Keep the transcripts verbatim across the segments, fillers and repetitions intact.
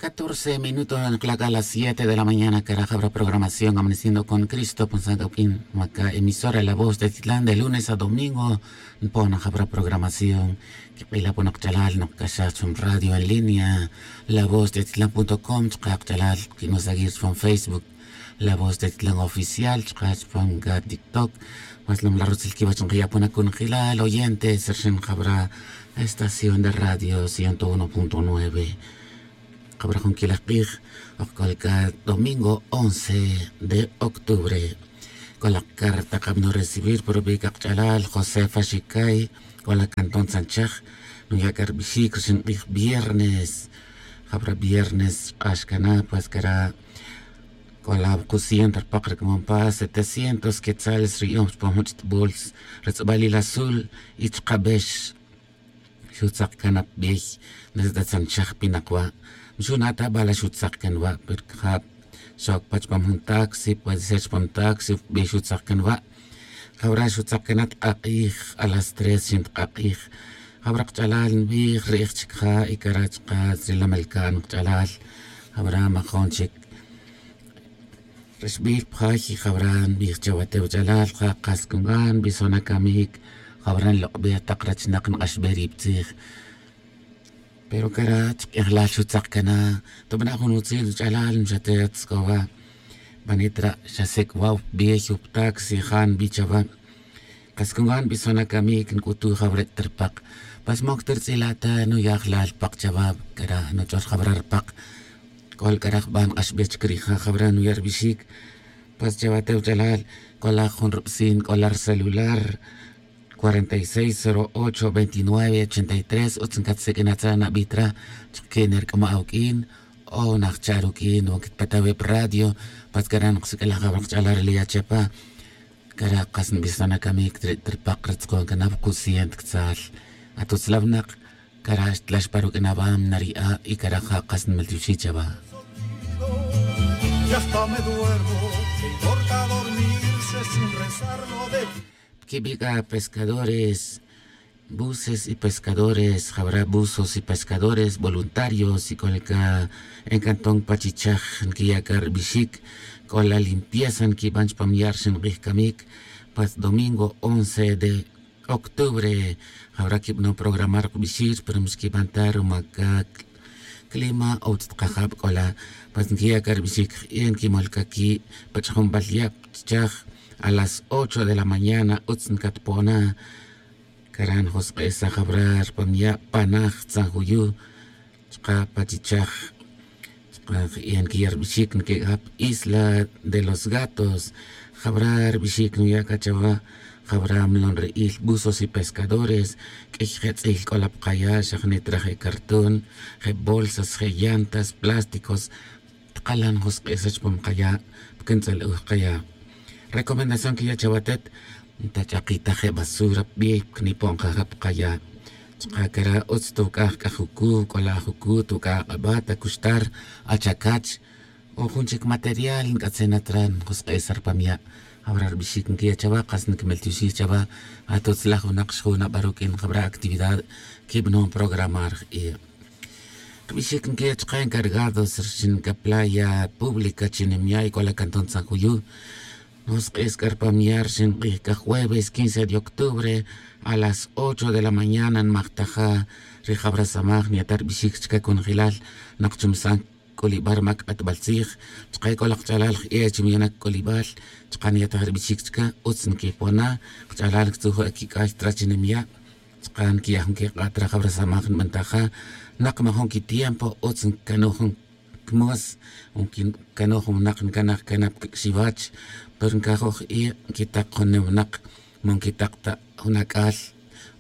Catorce minutos nqla' c'a las siete de la mañana cara jabra programación amaneciendo con cristo pon san c'o q'uin maca emisora la voz de titlán de lunes a domingo. Npon jabra programación. Quik'ila pon kach'alal nokcaxaj chupam radio en línea, la voz de titlán punto com chaka' kach'alal quin'o seguir chupam facebook, la voz de titlán oficial chaka' chupam c'a tiktok. Mas lom la rutzil quiwach nkiya' pon acunjelal oyentes rixin jabra estación de radio ciento uno punto nueve. Jabra jun quilaj k'ij ok c'o la c'a domingo once de octubre. C'o la carta kabno recibir por bi c'a kach'alal josefa xicay. C'o la cantón tzanchaj nuya' c'a rbixic rixin k'ij viernes. Jabra viernes xk'ax cana pues cara c'o la wuku ciento rpak ri c'amon pa setecientos quetzales ri yu'un chupam jun ch'it' bols. Ri tz'abalil azul y chaka' bex. Xutzak can apibiy. Desde tzanchaj pinak wa' mxuna' ta bala xutzak can wa' pero cajab xoc pa chupam jun taxi puede ser chupam taxi upibiy xutzak can wa'. Jawra xutzak can at k'ak'ij a las tres xin tk'ak'ij. Jawra kach'alal nbij ri'ij chic ja' y cara' chaka' ri lamelca'n kach'alal. Jawra majon chic ri xbij pa jay y jawra nbij chawa te wach'alal ja kas cungan nbison acamic. Jawra nlok'bej tak rachinak nk'axbej ri pa tzij. Pero cara' chik'ejlal xutzak cana tobana' jun utzil wach'alal nxatet scowa. Banit ra' xa sec' wa upbej uptaxi ja nbi chawa. Kas cungan nbison acamic nc'utuj jawra ch'it rpak. Pas moc ta rtz'ila' ta nuyajlal rpak chawa. Cara' nuch'or jawra rpak. C'o la c'a ri jban k'axbej chic ri ja jawra nuya' rbixic. Pues chawa te wach'alal c'o la jun rubsin c'o la ricelular. Cuarenta y seis cero ocho veintinueve ochenta y tres utz ncatsiq'uin atza' nabi tra. Chaka' que nerc'ama' awuq'uin o najcha' ruq'uin o quitpata' wi pa radio. Pues cara' nqasiq'uilaj jawra kach'alal ri liya chepa. Cara' kas nbisana camic ri tripaq ri tzakon cana pa kusiyen tctzal. Atutz la winak. Cara' xtlax pa ruq'uin awam nari'a' y cara' ja' kas nmeltioxi' chawa. Quibi' c'a pescadores buses y pescadores jawra buzos y pescadores voluntarios y c'o la c'a en cantón pachichaj nquiya' c'a ribixic. C'o la limpieza nquiban chupan ya' rixin k'ij camic. Pas domingo once de octubre. Jawra quibanon programar kbixir pero mixquiban ta ruma c'a clima o utz ta kajab c'o la. Pues nquiya' c'a ribixic je'e nquimol c'a qui' pa ch'ajunbal ya' pa chichaj. A las ocho de la mañana utz ncatpona. Cara' njosk'esaj jawra ri pamiya' panaj tzanjuyu' chuka' pa chichaj. Chuka' je'e nkiya' ribixic nkiq'uaj pa isla de los gatos. Jawra ribixic nuya' c'a chawa. Jawra milon ri'il buzos y pescadores. Q'uiy je' tz'il c'o la pa kaya' xa jnit ra je' cartón, je' bolsas, je' llantas, plásticos. Tkalan josk'esa' chupam kaya'. Pa quin tz'al'uj kaya'. Recomendación quiya' chawa atet. Ntach'akita je' basura pa bey pa quinipo'n kaja' pa kaya'. Chuka' cara' utz tuc'aj c'a jucu c'o la ajucu tuc'aj ak'abat acuxtar, achacach, o jun chic material nc'atzin at ra njosk'esa' ri pamiya'. Jawra ribixic nquiya' chawa kas nquimeltioxij chawa. Atutzlaj winak xjun aba ruq'uin jawra actividad quibanon programar je'e. Ribixic nquiya' chuka' encargados rixin c'a playa pública chi nimya' y c'o la cantón tzanjuyu'. Njosk'es c'a ri pamiya' rixin k'ij c'a jueves quince de octubre a las ocho de la mañana nmajtaja'. Ri jawra samaj nyata' ribixic chica conjelal. Nak chumisan c'ulibal ri mac k'atbal tzij. Chuka' c'o la kach'alal je'e chi miyanak c'ulibal. Chuka' nyataj ribixic chica utz nquipona'. Kach'alal ctzujuj quic'ay tra chi nimya'. Chuka' nquiya' jun quik'a' tra jawra samaj nbantaja'. Nak majun quitiempo utz ncanoj jun cmos. Ncanoj jun winak ncanaj cana pa cac'xiwach. Pero ncajoj je'e nquitak jun ne winak. Ma nquitak ta jun ac'al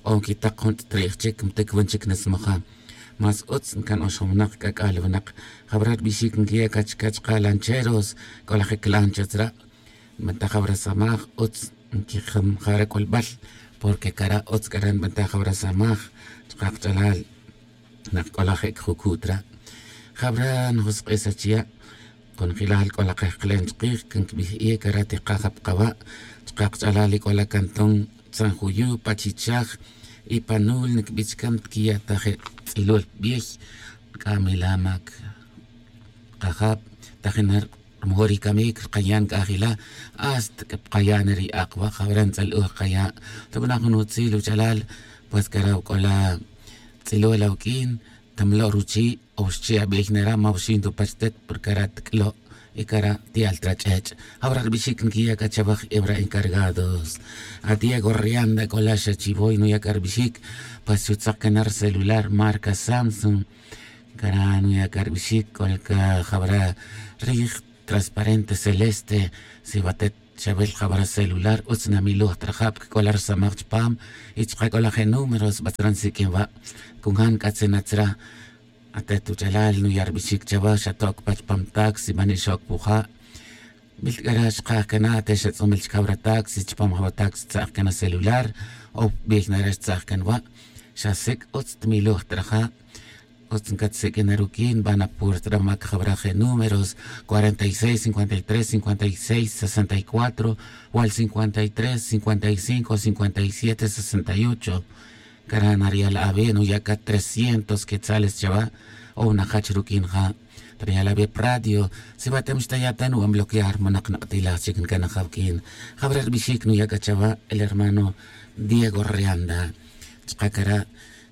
o nquitak jun ch'it ri'j chic ntic wan chic nasmaja'. Más utz ncan oxon winak c'ac'al winak. Jawra ribixic nquiya' c'a chica chuka' lancheros. C'o la je' clancha tzra'. Nbantaj jawra samaj utz nquijam jawra c'ulbal. Porque cara' utz c'ara' nbantaj jawra samaj chuka' kach'alal. Nak c'o la je' cajucu' tra'. Jawra njosk'esa' chiya'. Conjelal c'o la kejkelen chikij can quibij e cara' tikaja' pa kaba'. Chuka' kach'alal y c'o la cantón tzanjuyu' pa chichaj. Y pa nul niquibi' chica ntiquiya' ta je' tz'ilul pa bey. C'a mila mac Kajab, tajina ri mejor ri camic ri kayan c'a jila', hasta c'a pa kayan ri ak'wa' jawara' ntz'al'uj kaya'. Tabana' jun utzil uch'alal, pues cara' c'ola tz'ilo' la uq'uin, tamlo' ruchi', o xchi' abey nera' ma uxin tupach tet porque cara' tic'lo', y cara' ti'al trach'ech'. Jawara' ri bixic nquiya' c'a chawaj ebra encargados. A diego rianda c'ola xa chivoy nuya' c'a ri bixic, pues xutzak cana ri celular marca samsung. Cara' nuya' c'a ri bixic c'ola ca jawara' rij transparente celeste. Si watet xawil jawara' celular utz namiloj ta raja' porque c'ola risamaj chupam, y chuka' c'ola je números batzra nsiq'uin wa'. Cunjan c'atzinat tzra. Atet uch'alal nuya' ri bixic chawa xatoc pa chupam taxi man ixoc puja'. Mil c'a ra' xkaj cana te xatz'umil chica wara' taxi chupam jawa' taxi tza'j cana celular, o bey nara' xtza'j can wa'. Xa sic' utz tmiloj ta raja'. Utz ncatsiq'uin na ruq'uin van a puerta ra mac jawara' je números, cuarenta y seis cincuenta y tres cincuenta y seis sesenta y cuatro, wal cincuenta y tres cincuenta y cinco cincuenta y siete sesenta y ocho. Cara' nariya' la awe' nuya' c'a trescientos quetzales chawa'. O najach ruq'uin ja'. Tariya' la awe' pa radio. Si watem xtaya' ta nuban bloquear manak nak'tilaj chic ncanajaw q'uin. Jawara' ri bixic nuya' c'a chawa' el hermano diego rianda. Chuka' cara'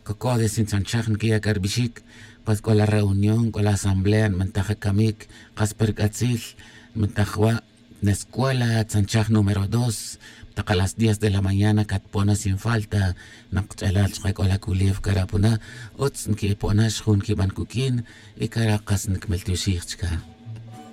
cocode sintzanchaj nquiya' c'a ri bixic. Pues c'ola reunión c'ola asamblea nbantaj camic, kas pa ri c'atzil nbantaj wa'. Nescuela tzanchaj número dos, tak a las diez de la mañana catpo'na sin falta. Nak ch'alal chuka' c'ola culew cara' puna, utz nqui'epo'na xjun quiban cuq'uin, y cara' kas ncmeltioxij chica.